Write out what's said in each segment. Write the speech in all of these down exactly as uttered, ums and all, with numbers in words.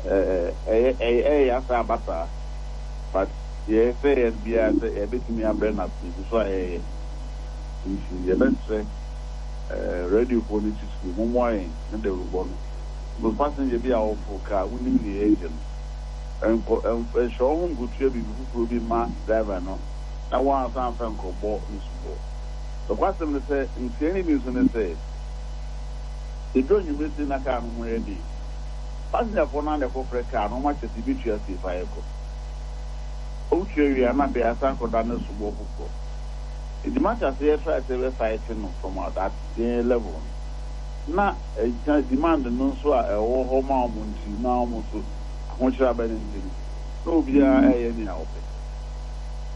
Ɛɛ ɛyɛ ɛyɛ ɛyɛ asa aba saa, but yɛsɛ yɛ biara sɛ yɛbɛtumi abrɛ no ase gu so a yɛyɛ. Nti yɛbɛsrɛ ɛɛ radiofoɔ no titiri, mommoa yɛn ne dawurubɔ no, because passenger bi a wɔforo kaa, wonim deɛ yɛgye no, nkɔ ɛnhyɛ wo ho nkotua biribi foforɔ bi ma driver no na wɔansa amfa nkɔbɔ ne soboɔ. Nokwasɛm ne sɛ, ntua no bi nso ne sɛ ɛduru anwummerɛ sei na kaa no ho yɛ den. Passengerfoɔ no ana ɛkɔfrɛ kaa no, ɔma kyɛ sɛ yɛbɛtua sei fa yɛkɔ. Wotua wie a, na afei asan kɔda ne soboɔ foforɔ. Nti matter sɛ yɛtry sɛ yɛbɛfight no from that yɛn level no, na ɛgyina demand no nso a ɛwɔ hɔ ma ɔmo nti, na ɔmo nso ahokyerɛ aba no nti no, na obiara ɛyɛ nea ɔpɛ.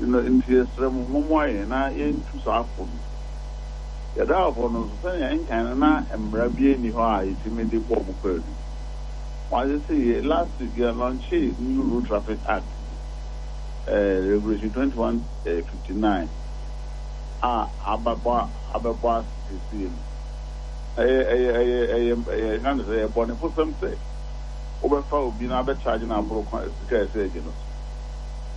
Nti yɛsrɛ mo, mommoa yɛn na yɛntu saa afo no. Yɛdraafoɔ no nso, sɛnea ɛnkan no na mmara bi nni hɔ a yɛtumi de bɔ ɔmo kwaadu. Wɔagye sɛ yɛ last week yɛ launch new Road Traffic Act, uh, Regulation twenty-one fifty-nine a abɛbɔ abɛbɔ ase seesei no. Ɛyɛ ɛyɛ ɛyɛ ɛyɛ ɛyɛ ɛka ne sɛ ɛyɛ bɔnefosɛm sɛ wobɛfa obi na abɛkyagye no aboro kwan sika a ɛsɛ agye no so.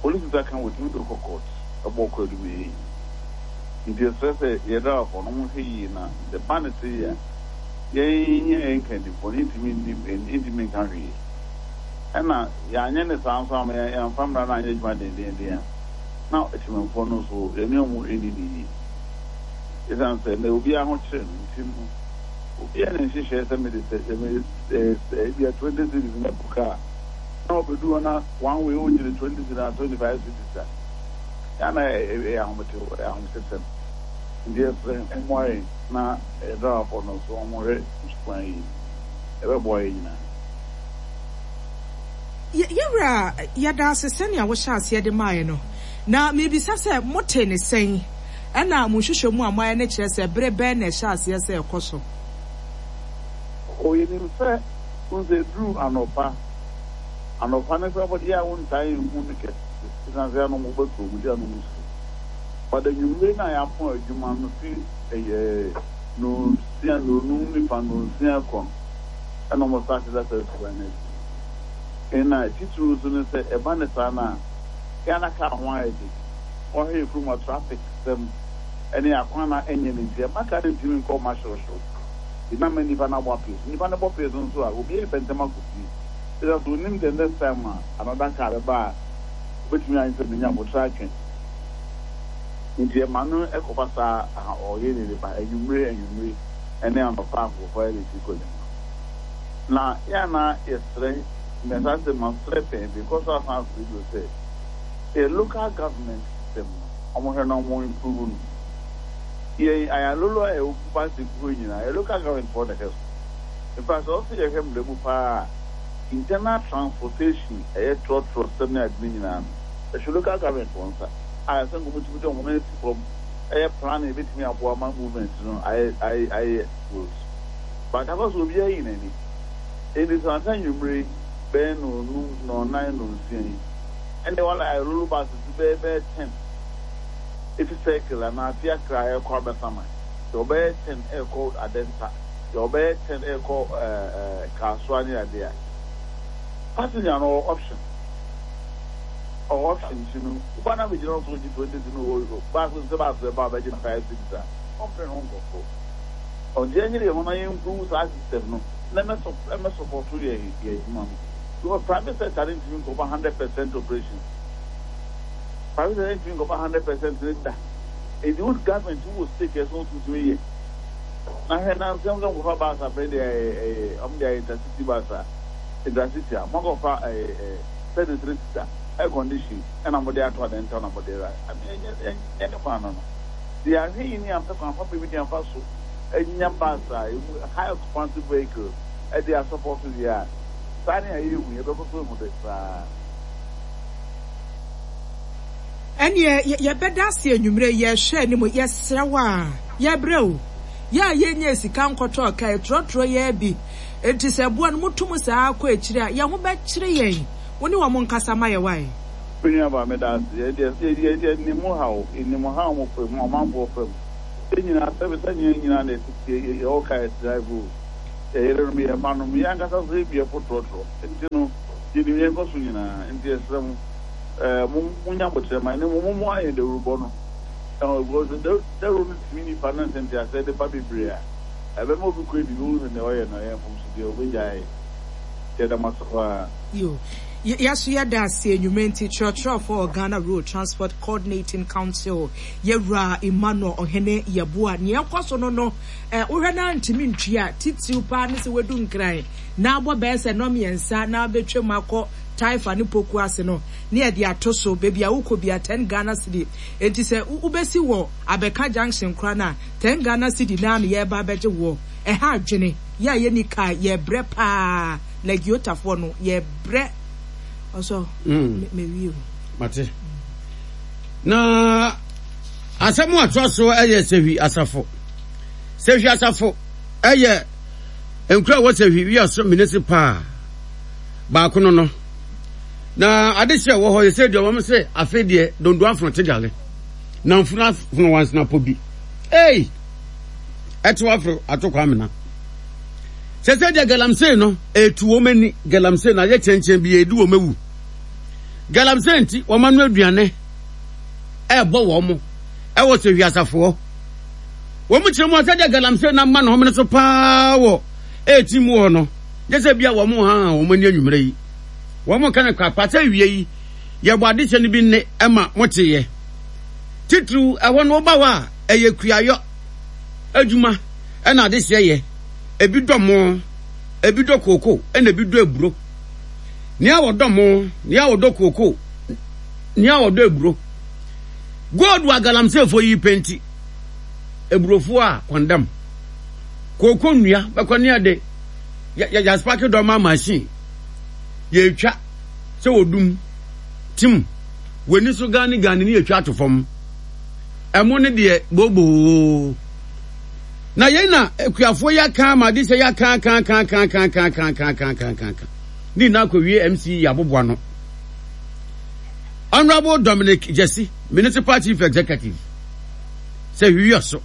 Polisi nsa ka, wɔtumi de kɔ court ɛbɔ kwaadu ma ɛyɛ yie. Nti ɛsrɛ sɛ yɛdraafoɔ no, mohwɛ yie na sɛ ba ne se yɛ a, yɛn yɛ yɛn nkandifoɔ no ntumi nni ntumi nka hwee. Ɛna yɛanyɛ ne saa nso ama yɛmfa mmara no anyɛ adwuma dendenden a, na akyimamfoɔ no nso yɛne ɔmo ɛni ne yie, ɛsiane sɛ na obiara ho kyerɛ no nti no, obiara ne nhyehyɛɛ sɛ mede sɛ sɛ ebia twenty cedis na bu kaa na ɔbɛdu hɔ na one way wogyere twenty cedis na twenty five cedis a, yana ɛyɛ ahometew, ɛyɛ ahometesɛm. Nti yɛsrɛ mmoa yɛn na yɛdraafoɔ no nso ɔmohwɛ sukwan yi, ɛbɛboa yɛn nyinaa. Yɛwura, yɛda ase sɛnea wohyɛ aseɛ de maaeɛ no. Na miribisa sɛ mote ne sɛn, ɛna mo nhwehwɛ mu a moayɛ no kyerɛ sɛ bere bɛn na ɛhyɛ aseɛ sɛ ɛkɔ so? Ɔyɛnim sɛ wo sɛ duru anɔpa anɔpa no kora bɔde a wontaa nhu no kɛse, ɛsiane sɛ anom wobɛ kurom de anom su, but anwummere no a yɛapɔn adwuma no fi ɛyɛ nonsia, nonum nifa, nonsia kɔ no, ɛna ɔmo start da saa suban no adi. Ɛna titiri nso no sɛ ɛba ne saa no a, yɛana kaa ho ayɛ de ɔhwɛ yɛ kurom a traffic sɛm ɛne akwan na ɛnyɛ ne nti ɛma kaa no ntumi nkɔ ɔma hyewohyew na ma nipa no abɔ apee so. Nipa no bɔ pee so nso a, obi yɛ pɛntɛm akɔ fie, ɛsɛ so onim the next time a another car bɛba a obetumi ayɛ sɛ menya abotire atwɛn. Nti ɛma no ɛkɔba saa ɔyɛ ne nipa anwummere anwummere ɛne anɔpa akɔkɔ yɛ ne ti kɔ dwuma. Na yɛana yɛsrɛ mmɛsa sɛ masrɛ pɛn bi kɔ so asan afiri bio sɛ yɛ local government system no, ɔmo hwɛ na ɔmo improve no. Yɛn Ayalolo a ɛwɔ Kumasi kuro nyinaa, yɛ local government foɔ na ɛhwɛ so. In fact, sɛ ɔsɛ yɛhwɛ mmerɛ mu paa, internal transportation, ɛyɛ trɔtrɔ sɛm ne ade no nyinaa no, ɛhwɛ local government wɔn nsa a ɛsɛ nkɔmɔ tumi de wɔn nan si fam ɛyɛ planning ebetumi aboa ma movement no ayɛ ayɛ ayɛ smooth. But akɔ so obiara yi n'ani. Edi sɛ ansa nwumire bɛyɛ nonum, nɔnan, nonsia yi, ɛnna wala Ayalolo buses bɛyɛ bɛyɛ ten efi Circle anaa fi Accra ɛkɔ Abɛsama, deɛ ɔbɛyɛ ten ɛkɔ Adenta, deɛ ɔbɛyɛ ten ɛkɔ ɛɛ ɛɛ Kasoa ne adeɛ a, passenger no ɔwɔ option, ɔwɔ option. Ti no woba na bɛgyina hɔ so gye twenty cedis no, wɔ baasi sɛ baasi bɛba a bɛgye no five cedis a, ɔmpere ne ho nkɔfo. Ɔnti ɛnyere yɛn ho na yɛn improve saa system no na ɛmɛ sɔ ɛmɛ support yɛ yɛ adwuma no, because private sector ne ntumi nkɔba hundred percent operation. Private sector ntumi nkɔba hundred percent ne da. Edi wo government wo stake ɛso nso ntumi yɛ na hwɛ na nsɛm sɛ nkɔfa bus abɛn deɛ, ɛyɛ ɛyɛ ɔmo de ayɛ intercity bus a, intercity a mo akɔfa ɛyɛ ɛyɛ thirty three seater air condition ɛna mo de ato Adenta na mo de ra ɛnyɛ ɛnyɛ ne kwan no no deɛ. Ahwɛ yi ni ampɛ kwan papa bi de afa so ɛnya bus a emu high occupancy vehicle ɛde asupport deɛ a, saa ne a yɛhu yɛbɛkɔ so ehu de saa. Ɛneɛ yɛbɛda ase anwummerɛ. Yɛhwɛ anim, yɛsrɛ wo a yɛbrɛ o, yɛ a yɛnyɛ sika nkɔtɔ ka ɛtrɔtrɔ yɛ bi. Enti sɛ boa no motom saa kɔ akyire a, yɛn ho bɛkyere yɛn. Wo ne wɔn nkasa ma yɛ wae. Me nua ba, meda ase. Yɛdeɛ yɛnim haw, yɛnim haw mo fam, ɔmanfoɔ fam. Yɛn nyinaa sɛbi sɛ nyɛ nyinaa na ɛtete yɛwɔ kaa drive o, yɛ yerenom, yɛ mma nom, yɛn ankasa so yɛbi ɛfo trɔtrɔ. Nti no Yɛnim yɛn kɔ so nyinaa, nti yɛsrɛ mo, ɛɛ mo monya abotrɛ ma ne mo mo ayɛ dawurubɔ no. Ɛwɔ because dawuro no tumi nipa no nsɛnteaseɛ de ba bebree a, ɛbɛma obi kɔ edi bi ohun sɛ nea ɔyɛ no ɛyɛ mfomsodeɛ, obɛgyae. Yɛda mo ase paa. Yo, yɛso yɛda ase anwummerɛ. Nti kyerɛkyerɛfoɔ Ghana Road Transport Coordinating Council, yɛwura Emmanuel Ɔhene Yɛboa, nea ɛkɔ so no no eh, wohwɛ no ntumi ntua titiriw paa ne sɛ wadu Nkran na abɔ bɛyɛ sɛ nnɔ mmiɛnsa na abɛtwam akɔ Taifa ne Poku ase no, ne yɛde ato so baabi a wokɔ bia ten Ghana cedi. Enti sɛ wobɛsi wɔ Abɛka Junction koraa no a, ten Ghana cedi naa na yɛreba abɛgye woɔ. Ɛha adwene yɛ a yɛni kaa, yɛbrɛ paa. Lagiotafoɔ no, yɛbrɛ ɔsɔ mewie o. Mate. Na asɛm a atoa so yɛ Sehwi Asafo. Sehwi Asafo yɛ nkura a wɔ Sehwi Wiaso municipal baako no no. Na adehyɛ wɔ hɔ yɛ sɛ deɛ wɔn sɛ afei deɛ dondo afono te gale na mfunu afono wansena pɔ bi. Ei! Ɛte waforo ato kwamena. Sɛ sɛ deɛ galamsey no etu wɔn ani, galamsey na ayɛ kyɛnkyɛn bi edi wɔn awu. Galamsey nti wɔn ano aduane ɛɛbɔ wɔn ɛwɔ sɛ wiasafoɔ. Wɔn kyerɛ mu asɛ deɛ galamsey na ama ne homene so paa wɔ eti mu hɔ no. Nyɛ sɛ bia wɔn ha wɔn ani anwummerɛ yi. Wɔn ka no kwakwa sɛ wie yi yɛbɔ adehyɛ no bi nne ɛma moteeɛ. Titiriw ɛhɔ no woba hɔ a ɛyɛ kuayɔ adwuma ɛna adehyɛ yɛ. Ebi dɔ mo, ebi dɔ kooko, ɛna ebi dɔ eburo. Nea wɔdɔ mo, nea wɔdɔ kooko, nea wɔdɔ eburo. Gold a galamseyfoɔ yi penti eburofoɔ a kɔndam. Kooko nnua bɛkɔ ne yɛde yɛaspark dɔma machine yɛtwa sɛ wɔdum tim w'ani so gane gane ne yɛtwa ato fam. Ɛmo ne deɛ booboo. Na yɛn na akuafoɔ yi aka ama ade sɛ yɛaka ka ka ka ka ka ka ka ka ka ka ka ne nyinaa akɔwie M C E aboboa no. Honorable Dominic Jesse, Municipal Chief Executive, sɛ hwiwi so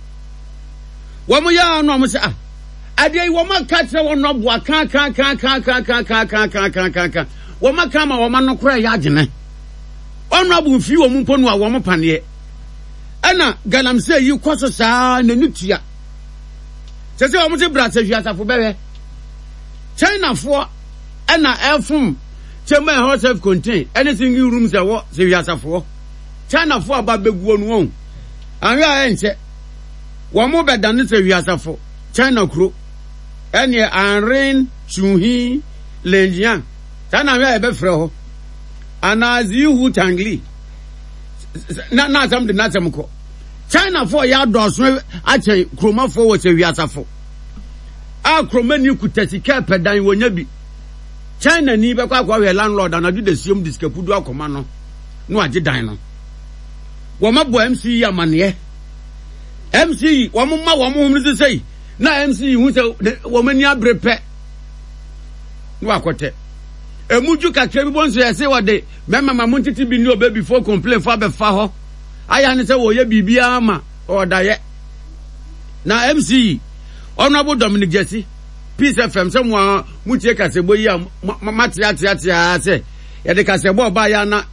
wɔn yɛ ano a wɔn sɛ ah, adeɛ yi wɔn aka kyerɛ wɔn no aboa ka ka ka ka ka ka ka ka ka ka ka ka wɔn aka ama wɔn ano koraa yɛ agyene. Honorable mfiri wɔn mpo no a wɔn paneɛ ɛna galamsey yi kɔ so saa n'ani tua sɛ sɛ wɔn te bra sɛ hwiasafo bɛhwɛ Chinafoɔ ɛna ɛfom kyɛm a ɛhɔ self contain ɛne single rooms ɛwɔ sɛ hwiasafoɔ. Chinafoɔ aba bɛguo no wɔn ahwɛ a ɛnkyɛ wɔn mo bɛdane sɛ hwiasafo China kuro ɛneɛ Anren Chuhi Lenjian saa na ahwɛ a yɛbɛfrɛ hɔ anaa Zihu Tangli na na asɛm de n'asɛm kɔ. Chinafoɔ yɛ adɔɔso akyɛn kuromafoɔ wɔ sɛ hwiasafo a kuromani kuta sika pɛ dan wɔnya bi. China ni bɛkɔ akɔhwɛ landlord anadwo da siom de sika pudu akɔma no na wagye dan no. Wɔn abɔ M C yi amaneɛ. M C wɔn ma wɔn ho no sisɛ na M C hu sɛ wɔn ani abere pɛ na wakɔtɛ emu dwu kakra bi bɔ nso yɛsɛ wɔde mɛma ma mo ntete bi ne ɔbɛ before complain fo abɛfa hɔ ayɛ ne sɛ wɔyɛ biribiara ma ɔdayɛ. Na M C Honorable Dominic Jesse, Peace F M, sɛ mo a motie kasɛbɔ yi a mateateatea sɛ yɛde kasɛbɔ ɔbaa yɛ ana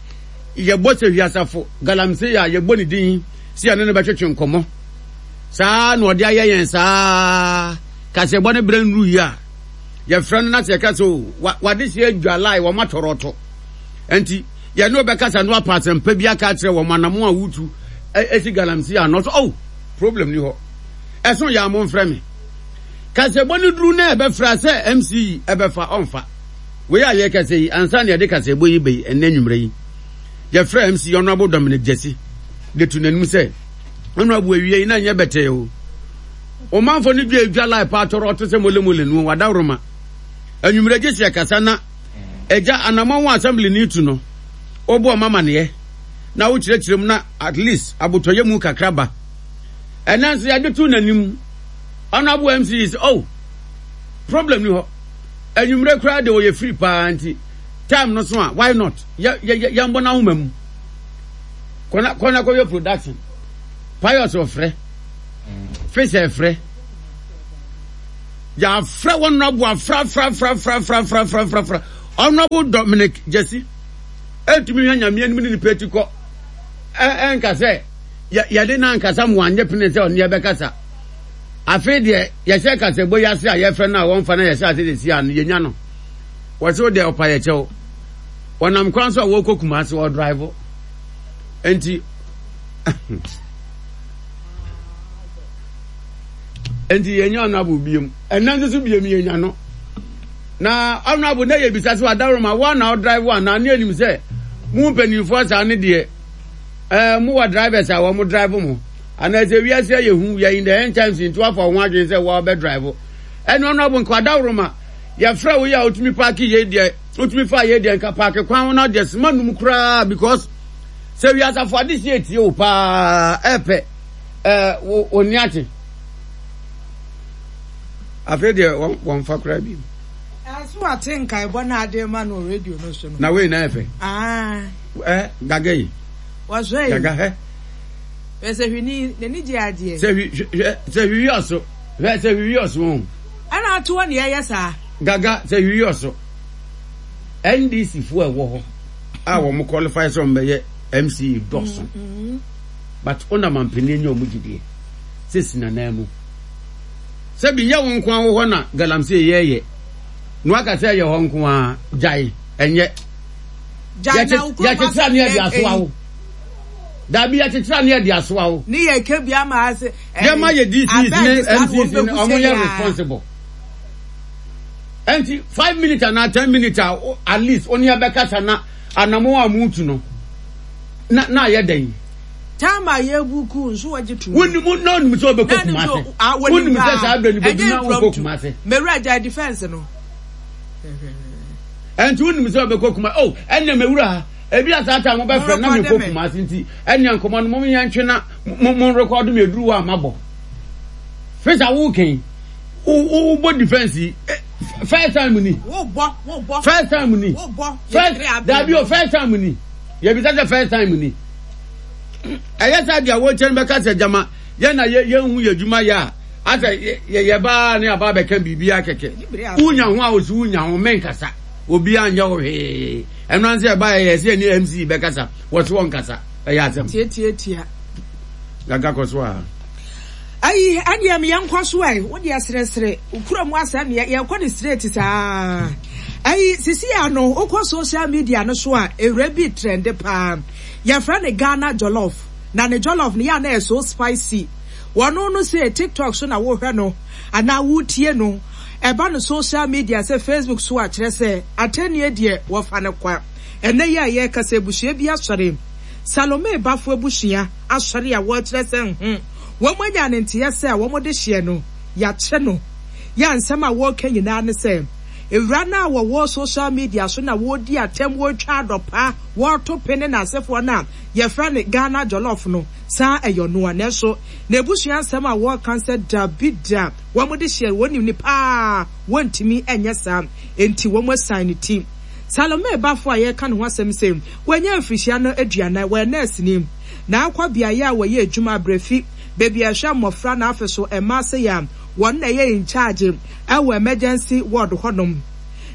yɛbɔ sɛ hwiasafo galamsey a yɛbɔ ne din si ɛne no bɛtwetwe nkɔmmɔ saa na ɔde ayɛ yɛn saa kasɛbɔ no berɛ nnuru yi a yɛfrɛ no na sɛ yɛka sɛ o wade hyɛ adwalae wɔn atɔrɔtɔ nti yɛne wobɛkasa no apa asɛmpa bi aka akyerɛ wɔn anamo a wotu ɛsi galamsey ano so. Oh, problem ni hɔ, ɛso yɛ a momfrɛ me. Kasɛbɔ no duru na ɛbɛfrɛ sɛ M C yi ɛbɛfa ɔmfa wei a yɛkasa yi ansa na yɛde kasɛbɔ yi bɛyi. Ɛnnɛ nwummerɛ yi yɛfrɛ M C Honorable Dominic Jesse de to n'anim sɛ honorable, awie yi na nyɛ bɛtɛɛ o, ɔmanfo no dwa edwa lai pa atɔrɔ ɔto sɛ molemole no wadaworoma anwummerɛ gye sɛ yɛkasa na agya anammɔn wɔ assembly ne tu no wobɔ ɔma amaneɛ na wokyerɛkyerɛ mu na at least abotɔyɛ mu kakra ba. Ɛnɛ nso yɛde to n'anim. Honorable M C sɛ oh, problem ni hɔ, anwummerɛ koraa de ɔyɛ free paa nti time no so a, why not yɛ yɛ yɛmbɔ n'ahoma mu kɔna kɔna kɔyɛ production. Pius ɔfrɛ Fisher frɛ yàfrɛ wɔn nabo afrafrafrafrafrafrafra. Honorable Dominic Gyasi ɛtumi hwɛ Nyame anim ne nipa ati kɔ ɛnka sɛ yɛde no ankasa mo anyɛ pene sɛ ɔne yɛbɛkasa. Afei deɛ yɛhyɛ kasɛbɔ yi ase a yɛfrɛ no a wɔmfa na yɛhyɛ ase de si ano yɛnya no. Wɔse wo deɛ ɔpa yɛkyɛw. Wɔnam kwan so a wɔkɔ Kumasi wɔdrive. Enti Enti yɛnya honorable biem. Ɛnna nso so biem yɛnya no. Na honorable na yɛbisa sɛ adaworoma wo na ɔdrive anaa ne anim sɛ mo mpanimfoɔ saa ne deɛ ɛɛ mo wɔ drivers a wɔn drive mo anaa sɛ wiase ayɛ hu yɛ in the end times nti wafa wɔn adwene sɛ wɔbɛ drive ɛne honorable nka adaworoma yɛfrɛ wo yɛ a wotumi paaki yɛ deɛ wotumi fa yɛ deɛ nka paaki kwan ho na deɛ sima num koraa because sɛ wiasafo ade si etie wo paa ɛpɛ ɛɛ wo wo ni ate afei deɛ wɔn wɔn fa koraa bi. Ɛso ate nkaebɔ na ade ma no radio no so no. Na wei na ɛfɛ. Aa. Ɛ gaga yi. Wɔsɔ yi. Gaga hɛ. Sɛ hwini n'ani gye adeɛ. Sɛ hwi hwɛ sɛ hwi ɔso hwɛ sɛ hwi ɔso wɔn. Ɛna ato hɔ na yɛyɛ saa. Gaga sɛ hwi ɔso. N D C foɔ ɛwɔ hɔ a wɔn qualify sɛ wɔn bɛyɛ M C E dɔso. Mm-hmm. But ɔna mampanin nye wɔn gyidie sɛ si nanan mu. Sɛbi nyɛ wo nko ara wɔ hɔ na galamsey yɛyɛ. Na waka sɛ ɛyɛ hɔ nko ara gyae ɛnyɛ. Yɛkyekyere ne yɛde asoa wo. Dabi, yɛkyekyere ne yɛde asoa wo. Ne yɛ ke bi ama ase. Yɛma yɛ D C Es ne M C Es ne ɔmo yɛ responsible. Ɛnti five minutes anaa ten minutes a at least ɔne yɛbɛkasa na anamo a mutu no na na ayɛ dɛn. Time a yɛbu ku nso wɔgye to. Wonim na onim sɛ ɔbɛkɔ Kumase. Wonim sɛ saa abirɛ no bɛdu na wokɔ Kumase. Mewura gya defense no. Ɛnti wonim sɛ ɔbɛkɔ Kumase. Oh, ɛnna mewura ha. Ebi a saa time mobɛfrɛ na mekɔ Kumase nti ɛnna nkɔmɔ no mo yɛn ntwe na mo mo record mi eduru hɔ a mabɔ. Fisa wo kɛn wo bɔ defense yi first time ni. Wo bɔ wo bɔ. First time ni. Wo bɔ. First dabi o, first time ni. Yɛbisa sɛ first time ni. Ɛyɛ sɛ deɛ wɔkyɛn bɛka sɛ gyama yɛn na yɛn hu yɛ adwuma yɛ a asɛ yɛ yɛ baa ne aba bɛka biribi akɛkɛ. Wunya ho a osi wunya ho mɛnkasa, obi anyɛ wo hwee. Ɛno ansɛ ɛba yɛ yɛ sɛ ne M C bɛkasa, wɔsi wɔn kasa, ɛyɛ asɛm. Tietietia. Gaga kɔ so a. Ayi ɛdeɛ mi yɛn kɔ so ɛ, wo deɛ seresere kura mu asɛm yɛ yɛkɔ ne straight saa. Ayi sisi ano wokɔ social media no so a, ewura bi trend paa, yɛfrɛ ne Ghana Jollof, na ne jollof no yɛ ana yɛ so spicy. Wɔn no sɛ TikTok so na wɔhwɛ no anaa wotie no, ɛba no social media sɛ Facebook so a, kyerɛ sɛ atɛnnie deɛ wɔfa no kwa. Ɛnɛ yi a yɛrekasa, abusua bi asɔre, Salome Bafo abusua asɔre a wɔrekyerɛ sɛ nho wɔn anya ne nteɛ sɛ wɔn de hyɛ no yɛakyɛ no yɛ. Nsɛm a wɔreka nyinaa ne sɛ ewura no a wɔwɔ social media so na wɔredi atɛm, wɔretwa adɔpa, wɔreto pene n'asefoɔ no a yɛfrɛ no Ghana Jollof no saa ɛyɛ ɔnoa. Nanso n'ebusua nsɛm a wɔreka sɛ dabi da, wɔn de hyɛ wɔn nim ne paa, wɔntumi nyɛ saa, nti wɔn asan ne ti. Salome Bafo a yɛreka ne ho asɛm sɛ wɔanya mfirihyia no aduanan, wɔyɛ nɛɛseni na akɔ beaeɛ a wɔyɛ adwuma abrɛfi beebi a ɛhwɛ mmɔfra na afɛ so mmaa sɛ yɛ a wɔn na ɛyɛ in charge ɛwɔ emergency ward hɔnom.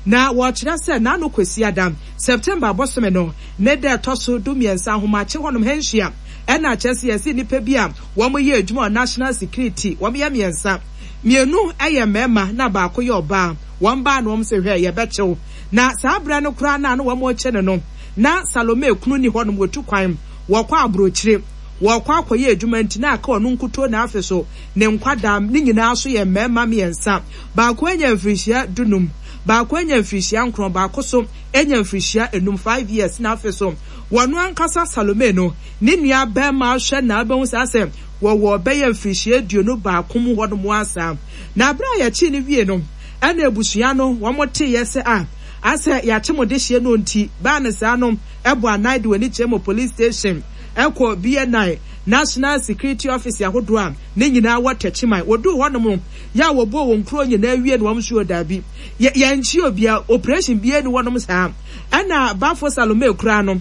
Na wɔkyerɛ sɛ n'ano Kwasiada, September abɔsome no ne da ɛtɔ so du mmiɛnsa, ahomakye hɔnom hanhyia ɛna kyerɛ sɛ yɛsi nnipa bi a wɔn yɛ adwuma wɔ national security, wɔn yɛ mmiɛnsa, mmienu yɛ mmarima na baako yɛ ɔbaa. Wɔn baa na wɔn sɛ hwɛ yɛbɛkyew na saa abirɛ no koraa na ano wɔn rekyɛ no no na Salome kunu ni hɔnom, wɔtu kwan wɔkɔ aburokyire, wɔkɔ akɔyɛ adwuma, nti na aka ɔno nkuto na afɛ so ne nkwadaa ne nyinaa so yɛ mmarima mmiɛnsa. Baako anya mfirihyia dunum, baako anya mfirihyia nkron, baako so anya mfirihyia enum, five years. Na afɛ so wɔn ankasa Salome no ne nua bɛrima ahwɛ na abɛho saa sɛ wɔwɔ bɛyɛ mfirihyia aduonu baako mu hɔnom asa. Na abere a yɛkyi no wie no, ɛna abusua no wɔn te yɛ sɛ a asɛ yɛakye mo de hyɛ no, nti baa ne saa no ɛbɔ anan de wɔn ani kyerɛ mo police station, ɛkɔ B N I national security office ahodoɔ a ne nyinaa wɔ Tɛkyiman. Wɔduu hɔnom yɛ a wɔbɔ wɔn kuro nyinaa wie no, wɔn nso daabi, yɛnkyi obia, operation bia ni hɔnom saa. Ɛna Bafo Salome kura no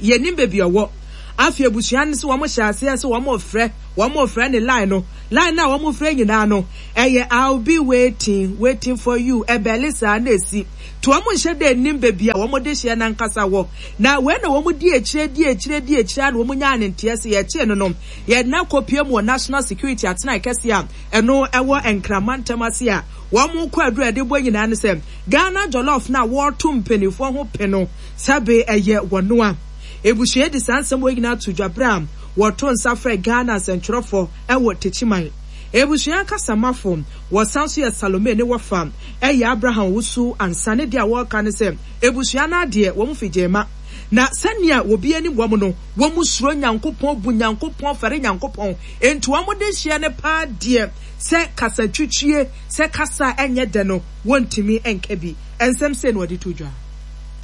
yɛnim baabi ɔwɔ. Afei abusua no sɛ wɔn hyɛ aseɛ sɛ wɔn frɛ wɔn frɛ ne line no line no a wɔn frɛ nyinaa no ɛyɛ "I'll be waiting, waiting for you". Ɛbɛle saa na esi to wɔn nhyɛ dɛ anim baabi a wɔn de hyɛ nankasa wɔ. Na wei na wɔn di akyire, di akyire, di akyire a na wɔn nyaa ne nteɛ sɛ yɛkyee no no yɛde akɔpie mu wɔ National Security atenae kɛseɛ a ɛno ɛwɔ Nkrama ntam ase a wɔn kɔ aduru a yɛde bɔ nyinaa no sɛ Ghana Jollof na wɔreto mpanimfoɔ ho pe no sɛbe ɛyɛ wɔnoa. Ebusua de saa nsɛm wɔ nyinaa to dwa berɛ a wɔto nsa frɛ Ghana nsɛntwerɛfoɔ ɛwɔ Techiman. Ebusua kasamafo wɔsan so yɛ Salome ne wɔfa ɛyɛ Abraham Wusu Ansa ne deɛ a wɔreka ne sɛ ebusua no adeɛ wɔn fi gyema na sɛnea obi anim wɔn no, wɔn suro Nyankopɔn, bu Nyankopɔn, fɛre Nyankopɔn, nti wɔn de hyɛ ne paa deɛ sɛ kasa twitwie sɛ kasa ɛnyɛ dɛ no wɔntumi nka bi. Nsɛm sɛ na wɔde to dwa.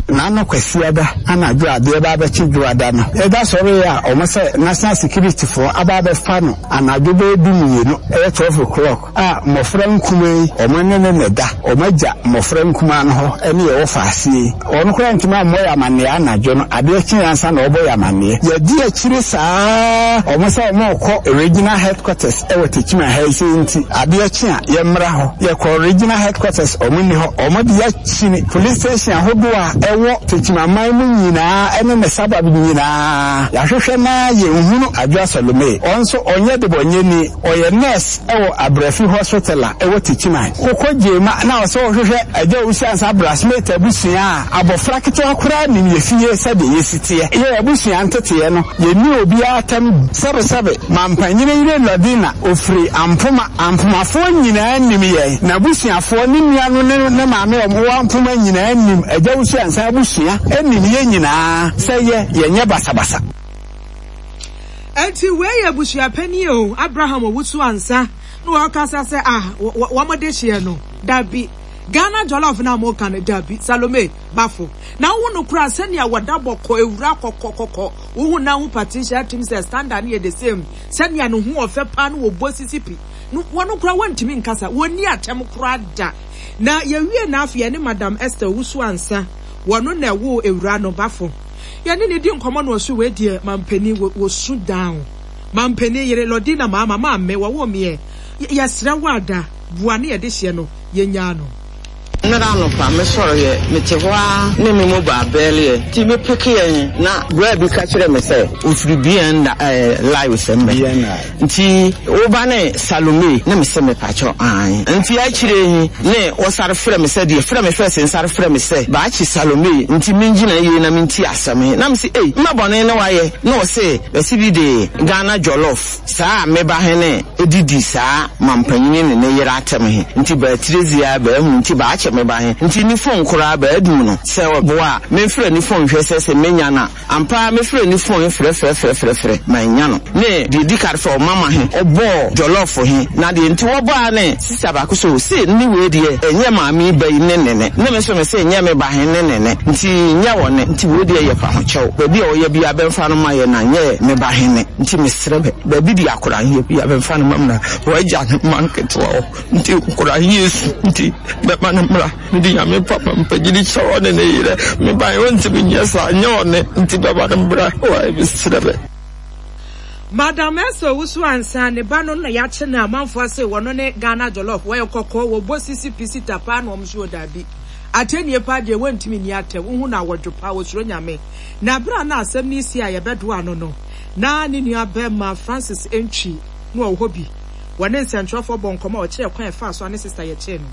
N'ano Kwasiada anadwo adeɛ ba abɛkye Dwoada no, ɛda sɔre a ɔmo sɛ National Security foɔ aba abɛfa no anadwo bɛyɛ du mmienu, ɛyɛ twelve o'clock, a mmɔfra nkuma yi ɔmo ne ne ne da ɔmo agya mmɔfra nkuma no hɔ ɛne yɛwɔ faaseɛ yi. Ɔno koraa ntumi ammɔ yɛ amanneɛ anadwo no, adeɛ kye ansa na ɔbɔ yɛ amanneɛ. Yɛdi akyire saa, ɔmo sɛ ɔmo kɔ regional headquarters ɛwɔ Techiman ha yi sɛ nti adeɛ kye a yɛmmra hɔ. Yɛkɔ regional headquarters, ɔmo nni hɔ. Ɔmo de yɛakyini police station ahodoɔ a ɛwɔ Techiman mu nyinaa ɛne ne suburb nyinaa. Yɛahwehwɛ na yɛnhunu Adwoa Salome. Ɔno nso ɔnyɛ debɔnyɛni, ɔyɛ nurse ɛwɔ Abrafi Hospital a ɛwɔ Techiman. Wokɔ Gyema na ɔsɛ wɔhwehwɛ Agya Owusu Ansa Brasmate abusua a, abɔfra ketewa koraa nim yɛ fie sɛdeɛ yɛsi teɛ. Yɛ abusua nteteɛ no, yɛnni obiara tam sɛbesɛbe. Mampanyini yere Lɔdina ofiri Ampoma. Ampomafoɔ nyinaa nim yɛn. N'abusuafoɔ ne nua no ne ne maame a wɔwɔ Ampoma nyinaa nim Agya Owusu Ansa abusua, nim yɛn nyinaa sɛ yɛ yɛnyɛ basabasa. Enti wei yɛ abusuapanin o, Abraham Owusu Ansa na wɔkasa sɛ ah wɔn de hyeɛ no dabi. Ghana Jollof na mo ka no dabi. Salome Bafo na wo no kura sɛnea wɔda bɔkɔ ewura kɔkɔkɔkɔ wohu na ho Patricia atim sɛ standard no yɛ the same, sɛnea ne ho ɔfɛ paa no wɔbɔ sisi pi no wɔn kura wɔntumi nkasa, wɔnni atɛm kora da. Na yɛwie na afei yɛne Madam Esther Owusu Ansa, wɔno na ɛwo ewura no Bafo, yɛne ne di nkɔmmɔ no ɔso wei deɛ mampanin wɔsu down. Mampanin yere Lɔdina maama maame wɔwɔ meɛ yɛsrɛ wo ada boa ne yɛde hyɛ no yɛnyaa no. Nnɛra anɔpa mesɔreɛ, mete hɔ a ne me mobile bɛɛleɛ nti mepekeɛ na braa bi ka kyerɛ me sɛ ofiri B N ɛɛ live sɛ mmɛ nti woba ne Salome ne me sɛ mepakyɛw ae. Nti akyire yi ne wɔsare frɛ me sɛ deɛ frɛ me fɛ sɛ nsare frɛ me sɛ baakye Salome nti mengyina yie na menti asɛm yi na me sɛ ei mma bɔne ne wayɛ na ɔse bɛsi bi de Ghana Jollof saa meba he ne edidi saa mampanyini ne ne yere atɛm he nti baatire zia baahu nti baakyɛ meba he nti ne phone koraa baadum no sɛ ɔboa a memfrɛ ne phone hwɛ sɛ sɛ menya no a ampa mefrɛ ne phone frɛfrɛfrɛfrɛfrɛ manya no. Ne deɛ di kare fɛ ɔmama he ɔbɔɔ jollof he na deɛ nti wɔbɔa ne sista baako so se ne wei deɛ ɛnyɛ maame ba yi ne ne ne ne me so me se nyɛ me ba he ne ne ne nti nyɛ wɔ ne nti wei deɛ yɛ fa ho kyɛw baabi a ɔyɛ bi abɛmfa no ma yɛ na nyɛ me ba he ne nti mesrɛ bɛ baabi di akora he bi abɛmfa no ma m na wɔagya ne ma nketewa hɔ nti nkora he esu nti bɛma no mmra. Mede Nyame papa mpagyini kyɛ ɔne ne yerɛ me ba ɔntumi nyɛ saa nyɛ ɔne nti bɛma no mmra wɔayɛ mesrɛ bɛ. Madam Esther Owusu Ansa ne ba no na yɛakye no amanfoɔ ase wɔno ne Ghana Jollof wɔyɛ kɔkɔɔ wɔbɔ sisi pisi tapaa na wɔn so wɔ daabi atɛnie paa deɛ wɔntumi nni atɛm wohu no awɔdwo paa wɔsuro Nyame. Na berɛ a na asɛm no si a yɛbɛdoa no no na ne nua bɛrima Francis Ntwi na ɔwɔ hɔ bi, wɔne nsɛntwerɛfoɔ bɔ nkɔmmɔ a ɔkyerɛ kwan ɛfaa so a ne sister yɛkyee no.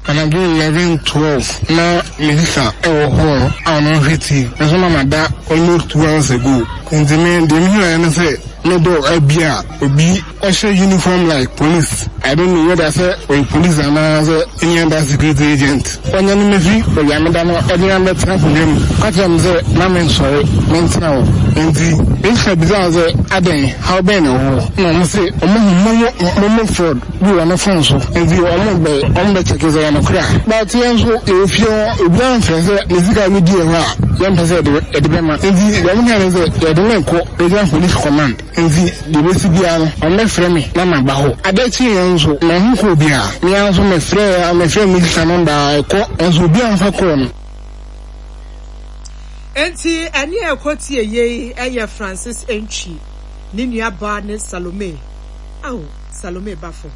Anadwo eleven twelve na me sister ɛwɔ hɔ a ɔno nhwɛ T V nso na ma da almost two hours ago. Nti me deɛ me hu ne sɛ me door abi a obi ɔhyɛ uniform like police. I don't know whether sɛ ɔyɛ police anaa sɛ any other security agent. Ɔnyɛ ne mefi baabi a meda no ɛde me abɛtena akonnwa mu. Ɔka kyerɛ me sɛ ma me nsɔre mentena hɔ. Nti me sister bisaa sɛ adɛn haw bɛn na ɛwɔ hɔ. Na ɔmo se ɔmo hu momo momo fraud bi wɔ ne phone so. Nti ɔmo bɛ ɔmo bɛ check sɛ ɛyɛ nokorɛ a. But yɛn nso yɛwɔ fie hɔ obiara mfrɛ sɛ ne sika bi di hɔ a yɛmpɛ sɛ yɛde yɛde bɛma. Nti deɛ ɔmo kae ne sɛ yɛde me kɔ Regional Police Command. Nti deɛ ebesi biara no ɔmo bɛfrɛ me na maba hɔ. Ade kye yɛn nso mahu kɔ obiara. Me ara nso mefrɛ mefrɛ me sister number a ɛkɔ nso obiara mfa kɔɔ no. Enti ɛne a ɛkɔtie yei ɛyɛ Francis Antwi ne nuabaa ne Salome. Ao, Salome Bafo.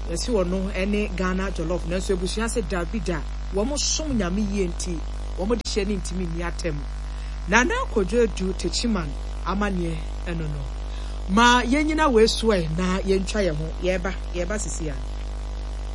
Yɛsi ɔno ɛne Ghana Jollof, nanso abusua sɛ dabi da, wɔn som Nyame yie nti wɔn de hyɛ ne ntumi nni atɛm. Nana Kojo Adu Techiman amanneɛ ɛno no. Ma yɛnyina wei so ɛ na yɛntwa yɛn ho. Yɛreba, yɛreba sisi a.